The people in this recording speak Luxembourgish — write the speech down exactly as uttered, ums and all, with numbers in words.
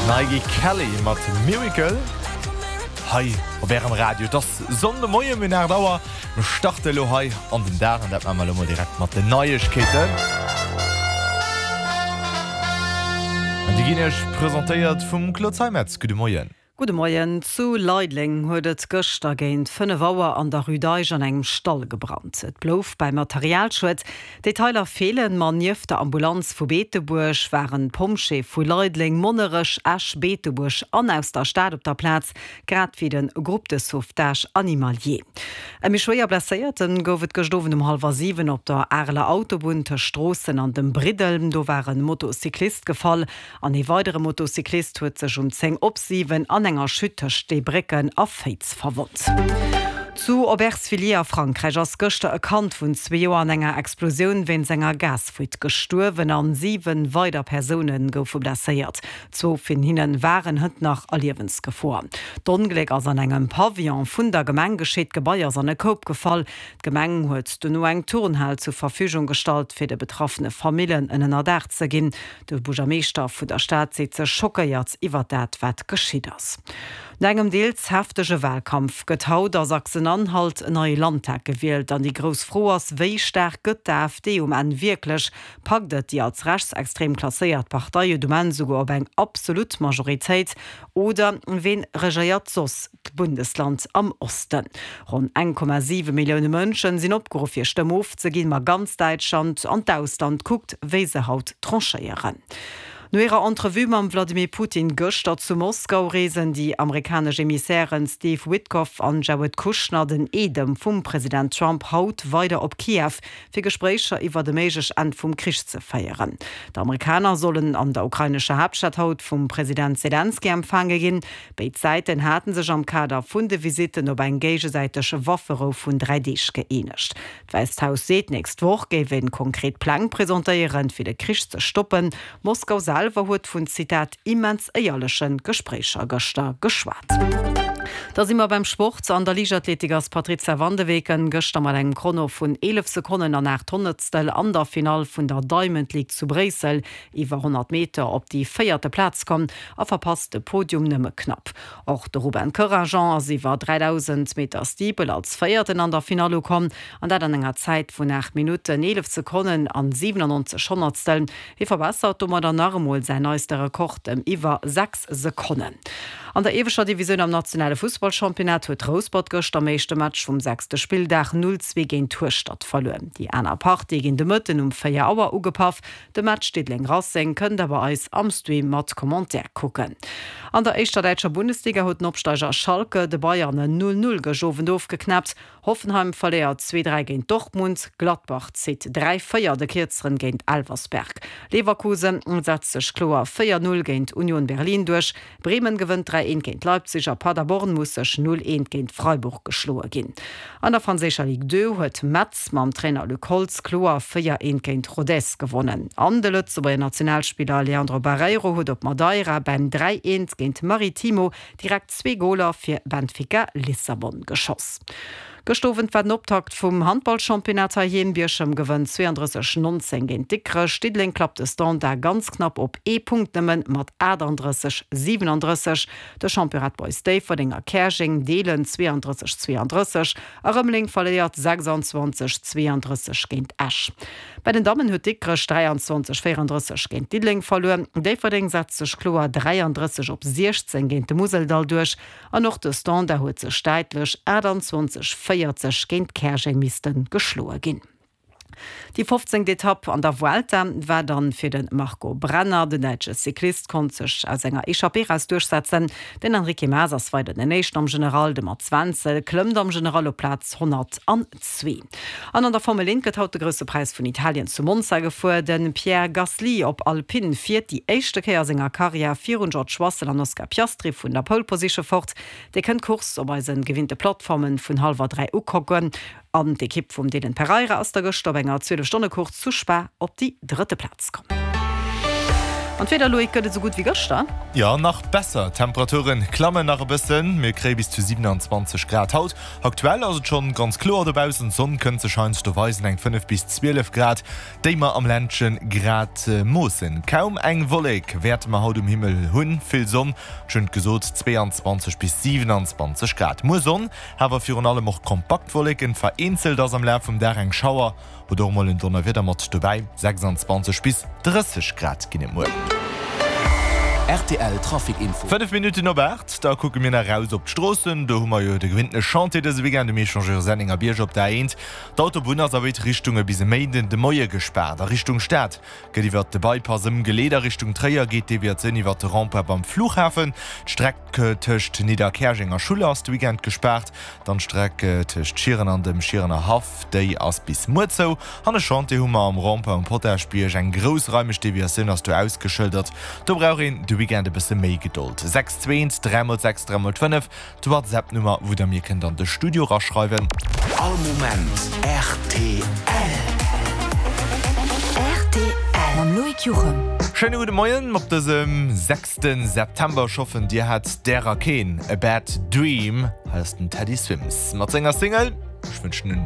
D'Nike Kelly mat Miracle hei op Ärem Radio. Et ass Sonndemoien, mir hunn aacht Auer. Mir starte elo hei an den Dag an dat maache mer elo mol direkt mat den Neiegkeeten. An déi ginn Iech presentéiert vum Claude Zeimetz. Gudde Moien. Gudde Moien. Zu Leideleng huet et gëschter géint fënnef Auer an der Rue d'Eich an engem Stall gebrannt. Et blouf bei Materialschued. Detailer feelen, ma nieft der Ambulanz vu Beetebuerg waren d'Pompjeeë vu Leideleng, Monnerech, Esch, Beetebuerg an aus der Stad op der Plaz, grad wéi de Groupe de sauvetage animalier. E méi schwéier Blesséierte gouf et gëscht Owend um hallwer siwen op der Areler Autobunn tëscht Stroossen an dem Briddel. Do war e Motocyclist gefall an ee weidere Motocyclist huet sech um zéng op siwen an enger Chute tëscht Steebrécken a Féiz verwonnt. Zu Aubervilliers a Frankräich ass gëschter e Kand vun zwee Joer an enger Explosioun wéinst enger Gasfuite gestuerwen an siwen weider Persoune goufe blesséiert. Zwou vun hinne waren hënt nach a Liewensgefor. D'Ongléck ass an engem Pavillon vun der Gemeng geschitt, d'Gebai ass an e Koup gefall. D'Gemeng huet dono eng Turnhal zur Verfügung gestallt, fir de betraffene Famillen en Ënnerdaach ze ginn. De Buergermeeschter vun der Stad seet sech schockéiert iwwer dat, wat geschitt ass. No engem deels heftege Walkampf gëtt haut a Sachsen-Anhalt en neie Landtag gewielt. An déi grouss Fro ass, Wéi staark gëtt d'AfD um Enn wierklech? Packt et déi als rechtsextrem klasséiert Partei et um Enn souguer op eng absolut Majoritéit? Oder ween regéiert soss d'Bundesland am Osten? Ronn eng Komma siwe Millioune Mënschen sinn opgeruff hir Stëmm ofzeginn, ma ganz Däitschland an d'Ausland kuckt, wéi se haut tranchéieren. No hirer Entrevue mam Wladimir Putin gëschter zu Moskau reesen déi amerikanesch Emissären Steve Witkoff an Jared Kushner, den Eedem vum President Trump, haut weider op Kiew, fir Gespréicher iwwert e méiglech Enn vum Krich ze féieren. D'Amerikaner sollen an der ukrainescher Haaptstad haut vum President Selenskyj empfaange ginn. Béid Säiten hate sech am Kader vun de Visitten op eng géigesäiteg Wafferou vun dräi Deeg gëeenegt. D'Wäisst Haus seet, d'nächst Woch géif ee konkret Pläng presentéieren, fir de Krich ze stoppen. Moskau selwer huet vun, Zitat, immens éierleche Gespréicher gëschter geschwat. Da si mer beim Sport. An der Liichtathletik ass d'Patrizia van de Weken gëschter mat engem Chrono vun eelef Sekonnen an aacht Honnertstel an der Finall vun der Diamond League zu Bréissel iwwer honnert Meter op déi véierte Plaz komm a verpasst de Podium nëmme knapp. Och de Ruben Corajean ass iwwer dräidausend Meter Steeple als Véierten an der Finall ukomm, an dat an enger Zäit vun aacht Minutten, eelef Sekonnen an siwenannonzeg Honnertstel. Hie verbessert domadder nach emol säin neiste Rekord ëm iwwer sechs Sekonnen. An der ieweschter Divisioun am nationale Fussballchampionnat huet Rouspert gëschter am éischte Match vum sechste Spilldag null zwee géint Hueschtert verluer. Déi aner Partie ginn de Mëtten um véier Auer ugepaff. De Match Diddeleng-Racing kënnt der bei eis am Stream mat Commentaire kucken. An der éischter däitscher Bundesliga huet den Opsteiger Schalke de Bayern en null null gëscht Owend ofgeknäppt. Hoffenheim verléiert zwee dräi géint Dortmund, Gladbach zitt dräi véier de Kierzeren géint Elversberg. Leverkusen setzt sech kloer véier null géint Union Berlin duerch, Bremen gewënnt dräi eent géint Leipzig a Paderborn muss sech null eent géint Freiburg geschloe ginn. An der franséischer Ligue deux huet Metz mam Trainer Luc Holtz kloer véier eent géint Rodez gewonnen. An de Lëtzebuerger Nationalspiller Leandro Barreiro huet op Madeira beim dräi eent géint Maritimo direkt zwee Goler fir Benfica Lissabon geschoss. Gëscht Owend war den Optakt vum Handballchampionnat heiheem. Bierchem gewënnt zwéiandrësseg, nonzéng géint Dikrech. Diddeleng klappt de Standard ganz knapp op ee Punkt nëmmen mat aachtanddrësseg, siwenandrësseg. De Champion Red Boys Déifferdeng a Käerjeng deelen zwéiandrësseg, zwéiandrësseg a Rëmeleng verléiert sechsandzwanzeg, zwéiandrësseg géint Esch. Bei den Dammen huet Dikrech dräiandzwanzeg, véierandrësseg géint Diddeleng verluer. Déifferdeng setzt sech kloer dräiandrësseg op siechzéng géint de Museldall duerch an och de Standard huet sech däitlech aachtandzwanzeg, véierzeg géint Käerjeng misste geschloe ginn. Déi fofzéngt Etapp an der Vuelta war dann fir de Marco Brenner. Den däitsche Cyclist konnt sech aus enger Echappée eraus duerchsetzen. Den Enrique Mas ass weider den Éischten am General, de Mats Wenzel klëmmt am General op Plaz honnertanzwee. An an der Formel eent gëtt haut de Grousse Präis vun Italien zu Monza gefuer. De Pierre Gasly op Alpine fiert déi éischte Kéier a senger Karriär virun George Russell an Oscar Piastri vun der Pole Position fort. Dir kënnt d'Course op eise gewinnte Plattformen vun hallwer dräi ukucken. An d'Ekipp vum Dylan Pereira ass da gëschter op enger zwielef Stonne Course zu Spa op déi drëtte Plaz komm. An d'Wieder, Loïc, gëtt et esou gutt wéi gëschter? Jo, nach besser. D'Temperature klammen nach e bëssen, mir kréie bis zu siewenanzwanzeg Grad haut. Aktuell ass et schonn ganz kloer dobaussen, d'Sonn kënnt sech heiansdo weisen, eng fënnef bis zwielef Grad, déi mer am Ländche grad moossen. Kaum eng Wollek wäerte mer haut um Himmel hunn, vill Sonn, ech hunn et gesot, zweeanzwanzeg bis siewenanzwanzeg Grad. Muer Sonn, awer virun allem och kompakt Wolleken, vereenzelt ass am Laf vum Dag eng Schauer oder och mol en Donnerwieder mat dobäi. sechsanzwanzeg bis drësseg Grad ginn et muer. Rtl Trafic Info. Fënnef Minutten op aacht, da kucke mir nach eraus op d'Stroossen. Do hu mer jo de gewinnte Chantier dëse Weekend um Echangeur Sennengerbierg op der A eent. D'Autobunn ass a béid Richtunge bis e Méinden de Moie gespaart. A Richtung Stad gëtt iwwert de Bypass ëmgeleet, a Richtung Tréier geet d'Deviatioun iwwert de Rond-point beim Flughafen. D'Streck tëscht Nidderkäerjeng a Schuller ass de Weekend gespaart. Dann d'Streck tëscht Schieren an dem Schierener Haff, déi ass bis muer zou. An e Chantier hu mer am Rond-point um Potaschbierg. Eng groussraimeg Deviatioun ass do ausgeschëldert. Do brauch een de Weekend e bësse méi Gedold. Sechs zwee eent dräi mol sechs dräi mol fënnef, d'Whatsapp-Nummer, wou der mir kënnt an de Studio raschreiwen. All Moment rtl. Rtl mam Loïc Juchem. Schéine gudde Moien op dësem sechste September. Ech hoffen dir hat därer keen A Bad Dream. Hei ass den Teddy Swims mat senger Single. Ech wënschen en